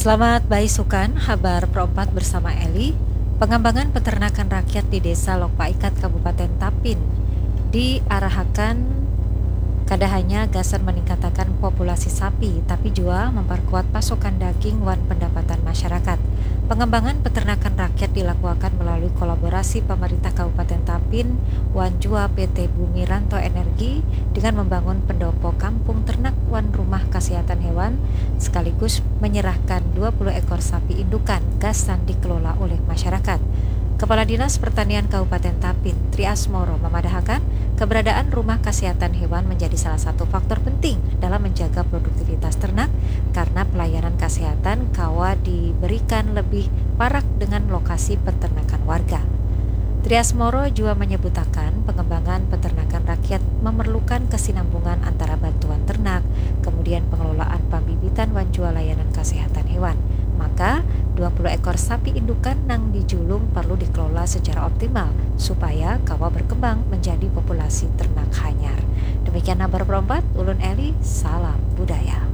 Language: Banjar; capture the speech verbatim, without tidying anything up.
Selamat baisukan, habar perompat bersama Eli. Pengembangan peternakan rakyat di Desa Lokpaikat, Kabupaten Tapin diarahakan kada hanya gasan meningkatakan populasi sapi, tapi jua memperkuat pasokan daging wan pendapatan masyarakat. Pengembangan peternakan rakyat dilakuakan melalui kolaborasi pemerintah Kabupaten Tapin wan jua P T Bumi Ranto Energi dengan membangun pendopo kampung ternak wan rumah kesehatan hewan, sekaligus menyerahkan dua puluh ekor sapi indukan gasan dikelola oleh masyarakat. Kepala Dinas Pertanian Kabupaten Tapin, Tri Asmoro, memadahakan keberadaan rumah kesehatan hewan menjadi salah satu faktor penting dalam menjaga produktivitas ternak karena pelayanan kesehatan kawa diberikan lebih parak dengan lokasi peternakan warga. Tri Asmoro jua menyebutakan pengembangan peternakan rakyat memerlukan kesinambungan antara bantuan ternak, kemudian pengelolaan pambibitan wan jua layanan kesehatan hewan. Maka, dua puluh ekor sapi indukan nang dijulung perlu dikelola secara optimal supaya kawa berkembang menjadi populasi ternak hanyar. Demikian habar perompat, ulun Eli, salam budaya.